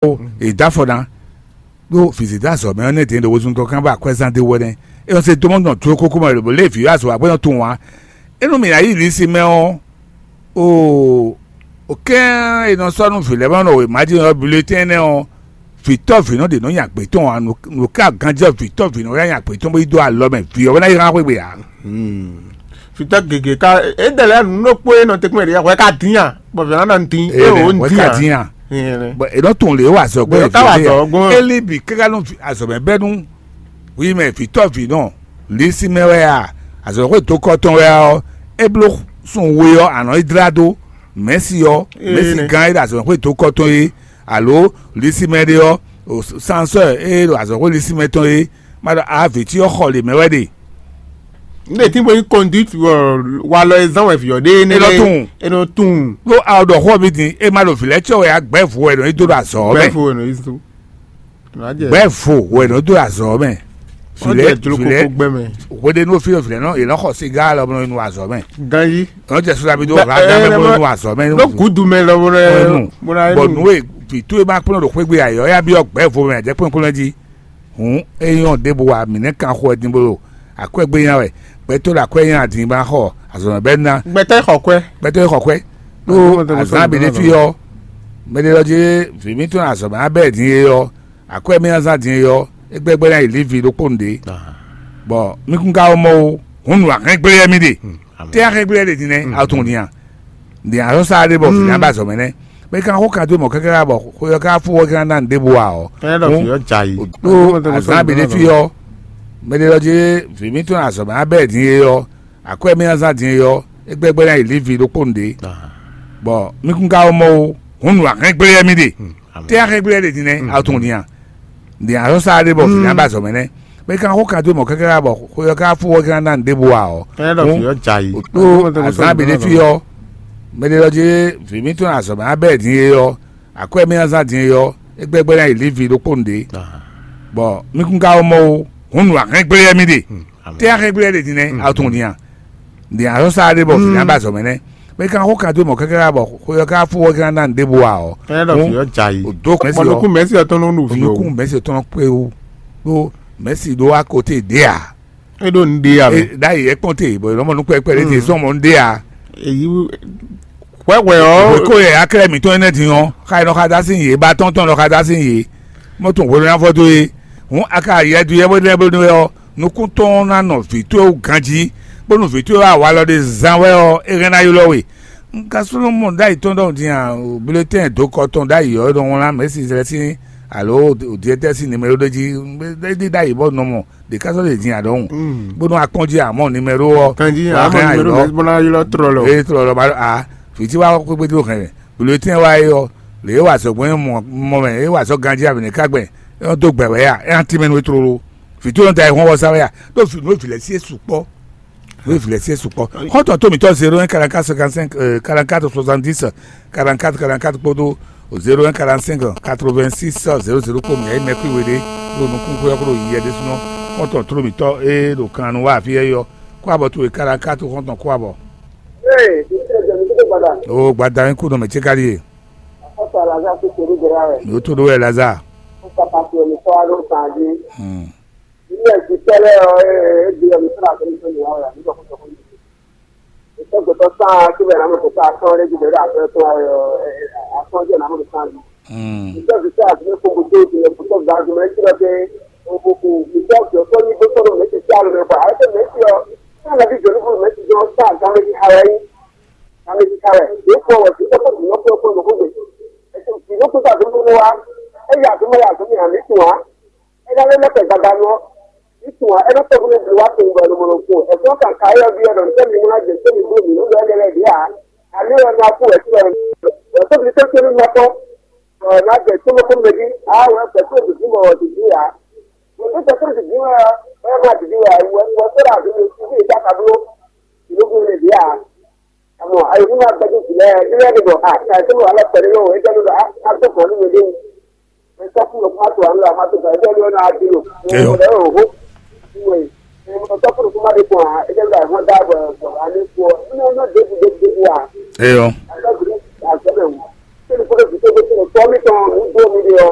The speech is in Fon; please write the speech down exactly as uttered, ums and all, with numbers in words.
Ó, è dó afɔ ná ɖó vǐzidó azɔ̌ mɛ ɔ́ nɛ́ dě ɖo wezun tɔn kán bɔ akwɛ́zán ɖé wɛ nɛ́. É nɔ se dó mɔ nɔ jó kókó mɛ lǒbó lé vǐ azɔ̌ akwɛ́ nɔ tunwun ǎ. É nú mǐ ná yi Lisi mɛ ɔ́, o o kɛ́n è nɔ sɔ́ nú vǐ lɛ́ɛ mɛ nɔ wěma jí ɔ́, bulletɛn nɛ́ ɔ́, vǐtɔ́ vǐnɔ ɖě nɔ nya gbě tɔn ǎ. Nǔ ká ganjɛ vǐtɔ́ vǐnɔ wɛ nya gbě tɔn bó yi dó alɔ mɛ, vǐ ɔ́ wɛ ná yi hán xwé gbe ǎ. Fitɔ gěgé ká é dɛ lɛ nǔ ɖokpó e nɔ tɛkpɛn ɖe hwɛ ká dín a, bɔ vǐ ná nɔ dín é o ń wɛ dín ká a. Dín a. Bɔn è nɔ tunwun lě wa azɔ̌ gbɔn È nɔ ká wa vǐ azɔ̌ gbɔn. Eli bǐ káká nú azɔ̌ mɛ bɛ́ nú wi mɛ vǐtɔ́ vǐnɔ Lisi mɛ wɛ a, azɔ̌ xwé dó kɔ tɔn wɛ ɔ́, é bló sun we ɔ́, a nɔ yi dlá dó. Mɛ̌si ɔ́, Ee, mɛ̌si nɛ. Gán e ɖo azɔ̌ xwé dó kɔ tɔn é, alo Lisi mɛ ɖé ɔ́, o sansɔ́ e ɖo azɔ̌ xwé Lisi mɛ tɔn é, ma ɖɔ a vǐ tí ɔ́ xɔ lě mɛ wɛ ɖe. N ɖe tí bo nyí conduite wɔ walɔ e zán wɛ vǐ ɔ́ ɖe énɛ́ È nɔ lɛ́ɛ. Tunwun. È nɔ tunwun. Ɖó a ɖɔ xó mi din, e ma ɖo vǐ lɛ́ɛ cɔ wɛ a gbɛ̌ vo wɛ nɔ yi dó ɖo azɔ̌ mɛ. Bɛfo wɛ nɔ yi so. Nɔ jɛ. Gbɛ̌ vo wɛ nɔ dó azɔ̌ mɛ. Ɔ Vǐ lɛ́ɛ jɛ jlo vǐ lɛ́ɛ koko gbɛ mɛ. Hweɖénu fi vǐ lɛ́ɛ nɔ yě nɔ xɔ siga lɔ nɔ yi nɔ azɔ̌ mɛ. Ganyi. Nɔ jɛ sulabi dó Ba- ha ɛ, gán mɛ ɛ, bó nɔ ma- nɔ azɔ̌ mɛ. Nɔ gudu mɛ lɔ bó nɔ Ɛnu. Bó nɔ Bɔ nu. E vǐ towe ma kplɔ́n ɖo xwé gbe ayɔ ya byɔ́ gbɛ̌ vo mɛ a jɛ kplɔ́n kplɔ́n jí. Hǔn é nyɔ́ ɖěbǔ wa mǐ nɛ́ kan xo wɛ din bó ɖo akwɛ́ gbé nya wɛ. Gbɛtɔ́ ɖo akwɛ́ nya din ba xɔ azɔ̌mɛ bɛ́ ná. Gbɛtɔ́ xɔ kwɛ. Gbɛtɔ́ xɔ kwɛ́. Ɖó Azɔ̌mɛ tɔn azǎn bǐ ɖé fi ɔ́, mɛ ɖé lɔ jí vǐ mǐtɔn azɔ̌mɛ abɛ́ din é ɔ́, akwɛ́ mì azán din é ɔ́, é gbɛ́gbɛ́ ná yi lívi ɖokpó nu ɖě. Bɔ mí kún ka wɔ mɔ ó, hǔn nǔ ahɛ́ngblé wɛ mì ɖe. Tɛ́ ahɛ́ngblé wɛ ɖe din nɛ́, a tunwun din a? Din a sɔ́ sa ɖé bɔ vǐ ná ba azɔ̌mɛ nɛ́. Mɛ kan xó kan dó mɔ káká bɔ xwe ɔ́ ká fó ɔ́ ká ná nǔ ɖěbǔ ǎ ɔ́. Ɛ lɔ fi ɔ́ ja yi. Ɖó azǎn bǐ ɖé fi ɔ́, mɛ ɖé lɔ jí vǐ mǐtɔn azɔ̌mɛ abɛ́ din é ɔ́, akwɛ́ mì azán din é ɔ́, é gbɛ́gbɛ́ ná yi lívi ɖokpó nu ɖě. Bɔ mí kún ka wɔ mɔ ó, hǔn nǔ ahɛ́ngblé wɛ mì ɖe. Tɛ́ ahɛ́ngblé wɛ ɖe din nɛ́, a tunwun din a? Din a sɔ́ sa ɖé bɔ vǐ ná ba azɔ̌mɛ nɛ́. Mɛ kan xó kan dó mɔ káká bɔ xwe ɔ́ ká fó ɔ́ ká ná nǔ ɖěbǔ ǎ ɔ́. Ɛ lɔ fi ɔ́ ja yi. Ɖó azǎn bǐ ɖé fi ɔ́, mɛ ɖé lɔ jí vǐ mǐtɔn azɔ̌mɛ abɛ́ din é ɔ́, akwɛ́ mì azán din é ɔ́, é gbɛ́gbɛ́ ná yi lívi ɖokpó nu ɖě. Bɔ mí kún ka wɔ mɔ ó, hǔn nǔ ahɛ́ngblé wɛ mì ɖe. Tɛ́ ahɛ́ngblé wɛ ɖe din nɛ́, a tunwun din a? Din a sɔ́ sa ɖé bɔ vǐ ná ba azɔ̌mɛ nɛ́. Mɛ kan xó kan dó mɔ káká bɔ xwe ɔ́ ká fó ɔ́ ká ná nǔ ɖěbǔ ǎ ɔ́. Ɛ lɔ fi ɔ́ ja yi. Dó Bɔ nukún mɛ̌si ɔ́ tɔn nɔ ɖu fi o. Nukún mɛ̌si tɔn kpé wú. Ɖó mɛ̌si ɖó wá kote ɖě ǎ. É ɖo nu ɖe ya mɛ. Ɖ'ayǐ é kpɔ́n te bɔ è nɔ mɔ nukpɛkpɛ ɖé te sɔ́ mɔ nu ɖe ǎ. Èyí hwɛhwɛ ɔ́. Hweko yɛ aklɛ mǐtɔn énɛ́ din ɔ́, xa è nɔ xa dó así yě, ba tɔn tɔn nɔ xa dó así yě. Mɔ tun hwenu ná vɔ dó é. Hǔn a ka yɛ dó yɛ bó lɛ́ bó nú wɛ ɔ́, nukún tɔn ná nɔ vǐ towe wú ganjí, bónú vǐ towe wá walɔ ɖé zán wɛ ɔ́, é hɛn ná ylɔ́ we. Un ka slɔ́ mɔ ɖ'ayǐ tɔn ɖɔhun din a? Bulletɛn dǒkɔ tɔn ɖ'ayǐ ɔ́, é nɔ wlán mɛ̌si zlɛ́ sín alo directeur sín numéro ɖé jí. É ɖi ɖ'ayǐ bɔ nɔ mɔ ɖě ká sɔ́ ɖe din a ɖɔhun. Bónú a kpɔ́n jí a mɔ numéro ɔ́, Kanjí wá a mɔ hɛn numéro ayǐ mɛ bó ná ylɔ́ trɔ lɔ. Eye trɔ lɔ ba a fiti wa kpékpé dó hɛn bulletin wa é ɔ́, lě e wa sɔ gbɔn mɔ mɛ, é wa sɔ ganjí a bǐ ní ká gbɛn, é nɔ dó gbɛ wɛ ya, é ná tín mɛ nú é tlóló. Fiti nɔ da ayǐ hɔn wɔ sa wɛ ya, ɖó vǐ nú vǐ lɛ́ sí é sukpɔ́. Nú vǐ lɛ́ sí é sukpɔ́. Xɔ́ntɔn tó mǐtɔn zéro un quarante-quatre cinquante-cinq, euh, quarante-quatre soixante-dix, quarante-quatre quarante-quatre kpódó zéro un quarante-cinq quatre-vingt-six zéro zéro kpó mǐ yɛ mɛ kú we ɖé ɖo nukún xwé ɔ́ kó ɖo yiyɛ ɖésúnɔ. Xɔ́ntɔn tló mǐtɔn e ɖo kan nu wá afí yɛ yɔ kó abɔ towe kára ká tó xɔ́ntɔn kó abɔ. Ee, ìṣe ìjẹ̀bú tó gbàdà. O gbada ń kú nù mí tí kárí e. Àkọ́kọ́ Lazare tó ṣe ní Jẹ́rẹ́ rẹ̀. Ní o tó dó wẹ̀ Lazare. Ó sàpàtì ẹ̀mí tọ́ wá ló kàn á dé. Hmm. Ilé ẹ̀sìn tẹ́lẹ̀ ọ̀ ẹ́ ẹ́ di ẹ̀mí tó rà tó ní tó ní wá rà nígbà kó tó kó ní. Ìṣègùtò sáà kí bẹ̀rẹ̀ àmọ́ kò sáà kán lé jùlọ àfẹ́ tó ayọ̀ àkọ́jọ́ náà mọ̀ sáà ní. Hmm. Ìṣègùtò àti ní kókó tó ti lè kó tó ga jùlọ ẹ̀ kí lọ pé òkùnkùn ìṣègùtò tó ní bó tó lọ mẹ́tì sí àlọ́ mẹ́fà àyẹ̀tẹ̀ mẹ́tì ọ̀ sáà lọ́bí jọ̀lú fún mẹ́tì jọ sáà gán méjì ara yín. Gán méjì ara ẹ̀ yóò fún ọwọ́ sí tọ́kọ̀ jùlọ fún ọkọ̀ lókùnkùn. Ẹ̀sìn ìlú kúta tó ń wá ẹ̀yà tó mọ̀ yà tó ní àmì tù wá. Ena lé lɛ́ kɛ gbadanu ɔ́, ní tunwun é nɔ tɔ́ fún mi wá kpowun bɔ è nɔ mɔ nɔ kpowun. Ẹ̀fọn kan ka éyɔ́ byɔ́ ɖɔ nítɛ́ mi wá jɛ tó mi bló mǐ nú lɛ́ lɛ́ lɛ́ ɖě ǎ. Àní ɔ́ ná kú wɛ sí ɔ́. Wɛ tó mi tó tó ní nɔ kpɔ́. Ɔ ná jɛ tó mɔ kó mɛ dí. Á wɛ pɛ tó dìdí mɔ wɔ dìdí ǎ. Wɛ tó tɛ tó dìdí wɛ ɔ́, wɛ má dìdí wɛ ǎ. Wɛ wɛ tó ɖa àdó mi sí bí ìjà ka bló. Ìlú kún mi dí ǎ. Àmọ́ ayé fún wa gbẹ́jú sílẹ̀ nílẹ̀ nìbọn. Àti àìsàn wà lọ́pẹ̀lú lọ́wọ́. Ẹgbẹ́ ló lọ. Á tó kàn nínú ilé. Ntɔkùnrin kuma to alo ama to ka ɛdɛ lɔ na adi lo. Eyo. Ɛdɛ o ho. Ntɔkùnrin kuma de kɔn a ɛdɛ lɔ ɛhɔn da bɔ bɔ ale kɔ. Ɛnɛ ɔnɔ debu debu debu wa. Eyɔ. Ɛdɛ bi a sɛbɛ wu. Sɛbi kɔdɔ bi to ko to tɔ mi tɔn nu do mi de ɔ.